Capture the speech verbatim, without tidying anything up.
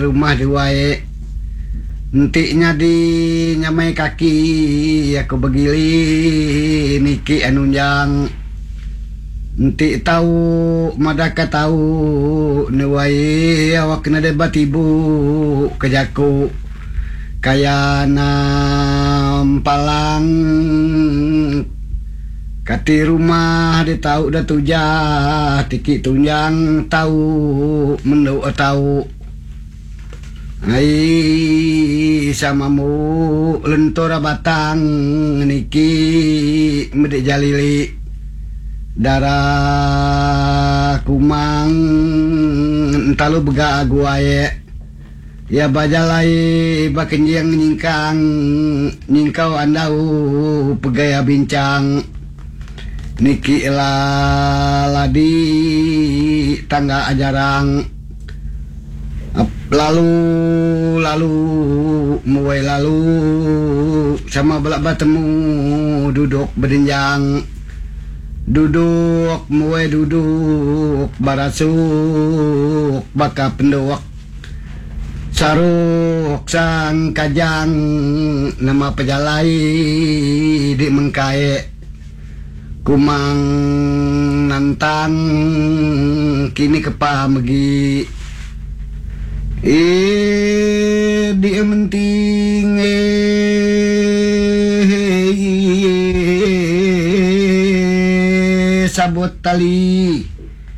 Rumah duai enti nyadi nyamai kaki aku begili niki anunjang enti tau madahka tau nuai awak nadai batibu ke jaku kaya nampalang kati rumah ditau da tujah tiki tunjang tau mendu tau ai sama mu lentur batang niki medi jalili dara kumang entalu bega guai iya bajalai ba kenjing nyingkang nyingkau andau pegai bincang niki ladi tangga ajarang lalu lalu muai lalu sama bela betemu duduk bedenjang duduk muai duduk barasuk baka penduk saruk sangkajang nama pejalai di mengkai kumang nantang kini kepa megi eh di menting eh sabut tali